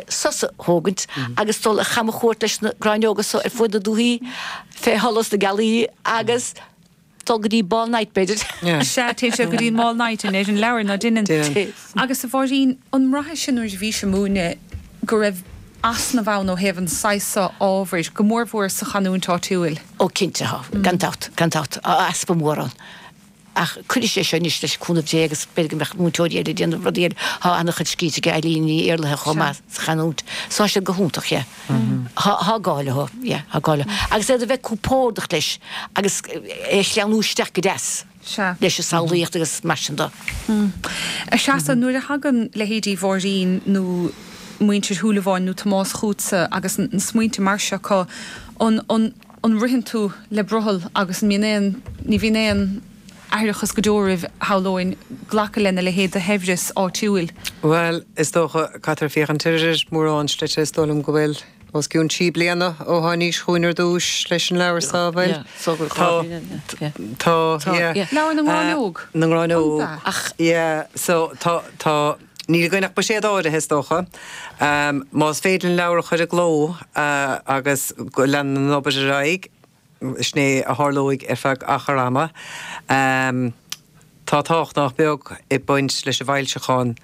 sos a thógaint agus dul ar chamchuairt leis na gráinneoga so ar fuaid na dúthaí fé sholas na gealaí agus dul go dtí ball night b'fhéidir. Sea, téann sé go dtí an ball night i ndeireadh an leabhair, ná deineann? Agus a Mháirín, an mbraithis nuair a bhís ag múineadh go raibh easnamh ann ó thaobh an saghas seo ábhair, go mórmhór sa chanúint áitiúil? Ó cinnte tá, gan dabht, gan dabht, tá easpa mór ann. Ach cuirfidh sé seo anois leis cúnamh Dé agus b'fhéidir go mbeadh múinteoirí eile ag déanamh rudaí eile. Tá an-chuid scríte ag Eileen Ní Iarlaithe chomh maith sa chanúint. So tá siad go hiontach, yeah. Tá, tá gá leo, yeah, tá gá leo. Agus iad a bheith compordach leis agus é a shleamhnú isteach go deas leis an samhlaíocht agus mar sin de. A Threasa, nuair a thagann leithéidí Mháirín nó muintir Shúilleabháin nó Tomás chugatsa agus na smaointe mar seo acu, an, an, an ritheann tú le brothall agus an mbíonn aon, ní bhíonn aon aithreachas go deo oraibh, shamhlóinn, glacadh lena leithéid de shaibhreas áitiúil? Bhuel, is dócha, caithfear féachaint ar mhórán slite, is dóigh liom go bhfuil os cionn trí bliana ó tháinís chugainn ar dtúis leis an leabhar so, bhfuil? Tá, tá, yeah. Leabhar na nGráinneog? Na nGráinneog. Yeah, so tá, tá. Níl againn ach buiséad áirithe, is dócha. Más féidir linn leabhar a chur i gcló agus go leanann an obair ar aghaidh, sin é a tharlóidh ar feadh achar ama. Tá tábhacht nach beag ag baint leis an bhfoilseachán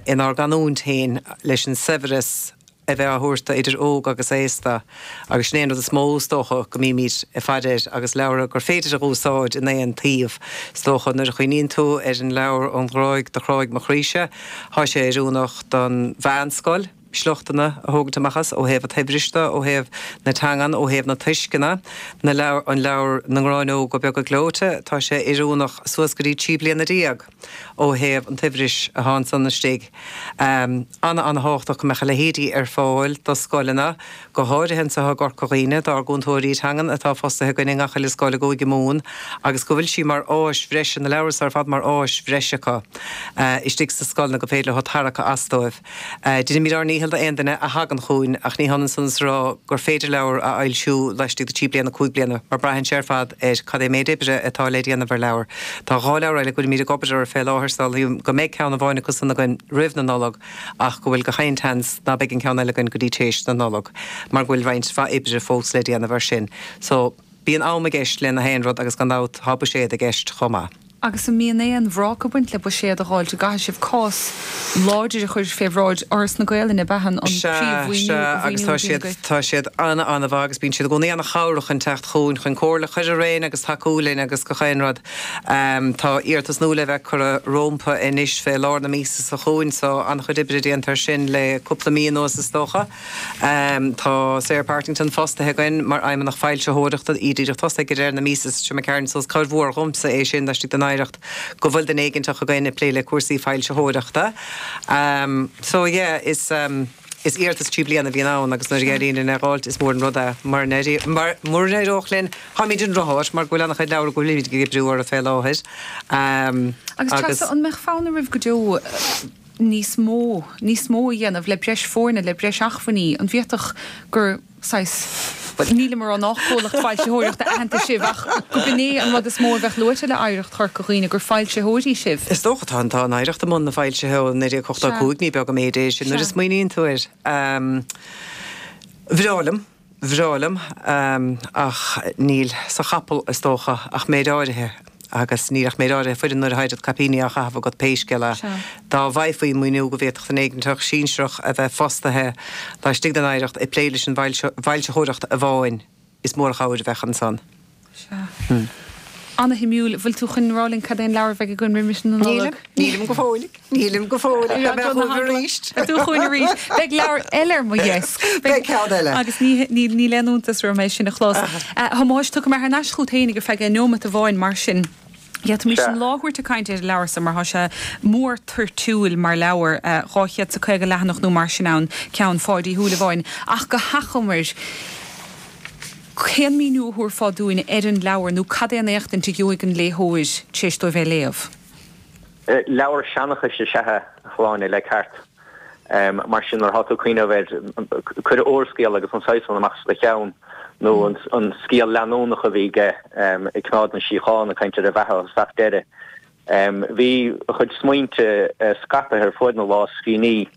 inár gcanúint féin, leis an saibhreas a bheith á thabhairt do idir óg agus aosta agus sin é an rud is mó, is dócha, go mbímid ag faire air agus leabhar gur féidir a dh'úsáid in aon tsuíomh, is dócha. Nuair a chuimhníonn tú ar an leabhar Ón Ghráig do Chráigh Mo Chroíse, tá sé oiriúnach don mheánscoil, sliochtanna a thógaint amach as, ó thaobh an tsaibhris de, ó thaobh na teangan, ó thaobh na tuisceana, na leabhar, an leabhar Na Gráinneoga Beaga Gleoite, tá sé oiriúnach suas go dtí 13 bliana. ó thaobh an tsaibhris atá ansan istigh. Ana-ana-thábhachtach go mbeadh a leithéidí ar fáil do scoileanna, go háirithe anseo i gCorca Dhuibhne, dár gcúntóirí teangan atá fostaithe againn i ngach uile scoil i gCúige Mumhan agus go bhfuil sí mar áis bhreise, na leabhair so ar fad mar áis bhreise acu istigh sna scoileanna go féidir leo tarrac as dóibh. Deinimid ár ndícheall d'aon duine a thagann chugainn ach ní hionann san is a rá gur féidir leabhar a fhoilsiú laistigh de thrí bliana, cúig bliana, mar braitheann sé ar fad ar cad é méid oibre atá le déanamh ar leabhar. Tá dhá leabhar eile go bhfuilimid ag obair orthu fé láthair, samhlaím go mbeidh ceann amháin acu san againn roimh na Nollag ach go bhfuil gach aon tseans ná beidh an ceann eile againn go dtí téis na Nollag mar go bhfuil roinnt mhaith oibre fós le déanamh air sin. So, bíonn am i gceist le na haon rud agus gan dabht tá buiséad i gceist chomh maith. Agus an mbíonn aon bhrac ag baint le buiséad a dháilt? An gcaithfidh sibh cás láidir a chur fé bhráid Fhoras na Gaelainne, ab ea an Sea, príomh-mhaoiniú sea, a agus tá mhaoiniú a bhíonn siad, agaibh? tá siad ana-ana-mhaith agus bíonn siad i gcónaí ana-chabhrach chun teacht chugainn chun comhairle a chur orainn agus tacú linn agus gach aon rud. Tá iarratas nua le bheith curtha rómpa anois fé lár na míosa seo chugainn so an-chuid oibre déanta ar sin le cúpla mí anuas is dócha. Tá Sarah Partington fostaithe againn mar Fheidhmeannach Foilsitheoireachta, í díreach tosaithe ag deireadh na míosa seo imigh tharainn so is cabhair mhór dhomsa é sin laistigh den Oidhreacht go bhfuil duine éiginteach againn ag plé le cúrsaí foilsitheoireachta. So yeah, is is iarratas trí bliana a bhíonn ann agus nuair a éiríonn linn é a dh'fháilt is mór an rud é. Mura n-éireodh linn, táimid i ndrochsháit mar go bhfuil an-chuid leabhar go bhfuilimid ag oibriú orthu fé láthair. Agus Treasa, an mbeadh fonn oraibh go deo níos mó, níos mó a dhéanamh le breis foirne, le breis acmhainní, an bhféadfadh gur saghas, bhuel, nílim ag rá nách comhlacht foilsitheoireachta aitheanta sibh ach go b'in é an rud is mó a bheadh luaite le Oidhreacht Chorca Dhuibhne, gur foilsitheoirí sibh. Is dócha, tá, tá an Oidhreacht i mbun na foilsithe ó 1985, ní beag an méid é sin nuair a smaoiníonn tú air. Bhreá liom. Bhreá liom, ach níl sa chapall, is dócha, ach méid áirithe, agus níl ach méid áirithe foireann nuair atá oiread caipíní á chaitheamh agat pé scéal é. Dá bhfaighfí maoiniú go bhféadfadh duine éiginteach sinsearach a bheith fostaithe laistigh den Oidhreacht ag plé leis an bhfoilsitheoireacht amháin, is mór an chabhair a bheadh ansan. Sea. Ana-shuimiúil. Bhfuil tú chun rá linn cad é an leabhar a bheidh againn roimis na Nollag? Nílim. Nílim go fóill. Nílim go fóill. Tá mé chugaibh arís. Tá tú chugainn arís. Beidh leabhar eile ar mo dheasc. Beidh ceann eile. Agus ní, ní, níl aon iontas orm é sin a chlos. A Thomáis, tiocfaidh mé thar n-ais chugat féinig ar feadh neomat amháin mar sin. D'fhéadfaimis an lá a thabhairt ag caint ar an leabhar so mar tá sé mór toirtiúil mar leabhar, 250 leathanach nó mar sin ann, ceann Pháidí Uí Shúilleabháin. Ach go hachomair, Cén míniú a thabharfá dúinn ar an leabhar nó cad é an éachtaint a gheobhaidh an léitheoir tar éis dóibh é a léamh? Leabhar seanchais is ea é, a Shláine, le ceart. Mar sin, nuair atá tú ag cuimhneamh air, cuir úrscéal agus an saghas san amach as do cheann, nó an scéal leanúnach a bhí aige ag Coimeád na Síochána, ag caint ar a bheatha ó thosach deireadh. Bhí a chuid smaointe scaipthe ar fuaid na lámhscríbhinní.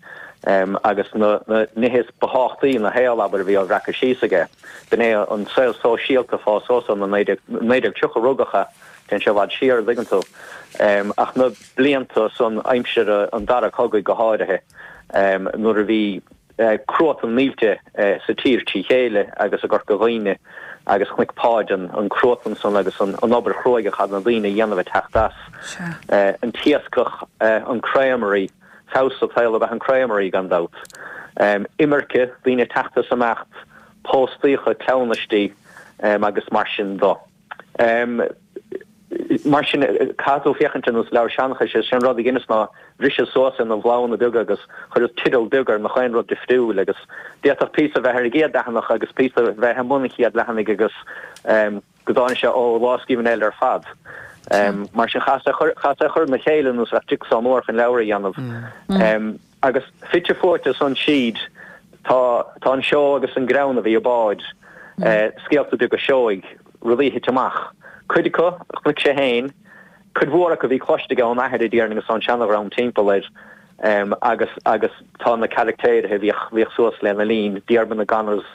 Agus na nithe is ba thábhachtaí ina shaol, abair, a bhí á bhreacadh síos aige. B'in é an saol sóisialta fá so sna 1930 a rugadh é, téann sé i bhfad siar, an dtuigeann tú. Ach na blianta san, aimsir an Dara Cogaidh go háirithe, nuair a bhí cruatan millte sa tír trí chéile agus i gCorca Dhuibhne agus chonaic Páid an cruatan san agus an obair chruaidh a chaith na daoine a dhéanamh ag teacht as. An t-iascach, an creamery. Feabhas an tsaoil ab ea an creamery, gan dabht. Imirce, daoine ag teacht is imeacht, póstaíocha, cleamhnaistí agus mar sin do. Mar sin, caithfidh tú féachaint ar nós leabhar seanchais, is é an rud a dheineas ná bhriseas suas ina bhloghanna beaga agus chuireas teideal beag ar nach aon rud difriúil agus d'fhéadfadh píosa a bheith ar an gcéad leathanach agus píosa a bheith i mbun an chéad leathanaigh agus go dtáinig sé ó lámhscríbhinn eile ar fad. Mar sin, chaitheas é a chur ina chéile nós a bheadh jigsaw mór chun leabhar a dhéanamh. Agus fite fuaite ansan tríd tá tá an seó agus an greann a bhí i bPáid, scéalta beaga seoigh, rudaí a thit amach. Cuid acu a chonaic sé féin, cuid mhór acu a bhí cloiste aige ón athair a déarfainn agus ón seanadhream timpeall air. Agus agus tá na caractéirithe a bhíodh bhíodh suas lena linn, Diarmaid na Gunners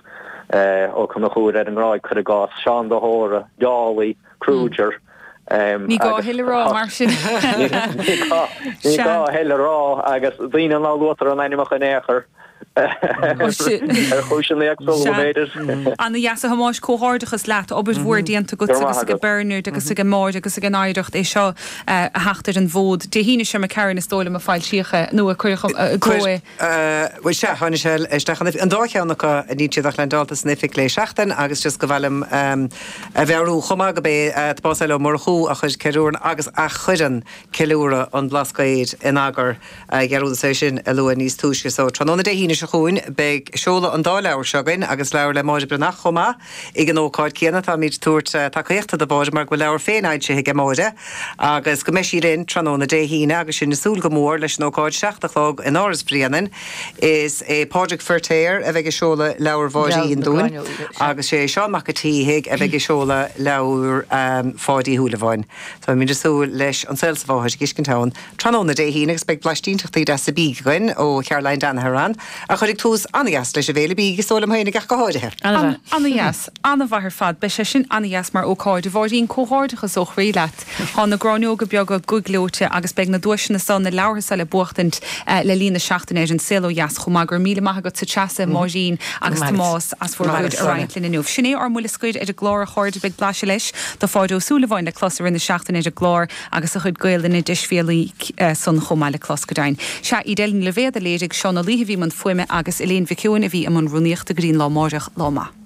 Ó Conchúir ar an nGráig cuir i gcás, Seán de hÓra, Dálaí, Kruger. Ní gá a thuilleadh a rá mar sin. Ní gá ní gá a thuilleadh a rá agus daoine ná luaitear a n-ainmneacha in aon chor. Ar chúiseanna éagsúla, b'fhéidir. Ana dheas a Thomáis, comhghairdeachas leat, obair mhór déanta agat agus ag Bernard agus ag Máire agus ag an Oidhreacht é seo a theacht ar an bhfód. Dé hAoine seo imigh tharainn is dóigh liom a foilsíodh é, nó a cuireadh i gcló é. Bhuel sea, tháinig sé isteach an oifig, an dá cheann acu, níl siad ach leaindeálta san oifig le seachtain agus just go mhaith liom a mheabhrú chomh maith gurb é Tomás L. Ó Murchú a chuir ceiliúrann agus a chuireann ceiliúradh an Bhlascaoid in eagar. Dhearúdas é sin a lua níos túisce. So, tráthnóna Dé hAoine seo chugainn, beidh seoladh an dá leabhar seo againn agus leabhar le Máire Breathnach chomh maith. Ag an ócáid céanna, táimid ag tabhairt tacaíochta do Mháire mar go bhfuil leabhar féin fhoilsithe aige Máire agus go mbeidh sí linn tráthnóna Dé hAoine agus sinn ag súil go mór leis an ócáid, 7 a chlog in Áras Bhréanainn. Is é Pádraig Feirtéar a bheidh ag seoladh leabhar Mháirín dúinn agus sé Seán Mac a' tSíthigh a bheidh ag seoladh leabhar Pháidí Shúilleabháin. Táimid ag súil leis an saol sa mháthair a fheiscint ann tráthnóna Dé hAoine agus beidh blaistínteachtaí deasa bídh againn ó Charoline Danaher ann a chuirfidh tús an-dheas leis an bhféile bídh, is dóigh liom féin, ach go háirithe. An-dheas. An-mhaith ar fad. Beidh sé sin an-dheas mar ócáid. A Mháirín, comhghairdeachas ó chroí leat. Tá na gráinneoga beaga gclóite agus beidh na duaiseanna seo, na leabhartha seo le buachtaint le linn na seachtaine ar An Saol Ó Dheas chomh maith. Go raibh míle maith agatsa Treasa, Máirín agus Tomás as bhur gcuid a roinnt linn inniu. Sin é ár mbuille scoir ar an gclár a chairde. Beidh blaiseadh leis de Pháid Ó Súilleabháin le clos i rith na seachtaine ar an gclár. Agus a chuid Gaelainne deisbhéalaí san chomh maith le clos, go deimhin. Sea, Edel Ní Loibhéad a léirigh, Seán Ó Laoithe a bhí i mbun fuaime agus Elaine Mhic Eoin a bhí i mbun rúnaíochta go dtí an lá amáireach. Lá maith.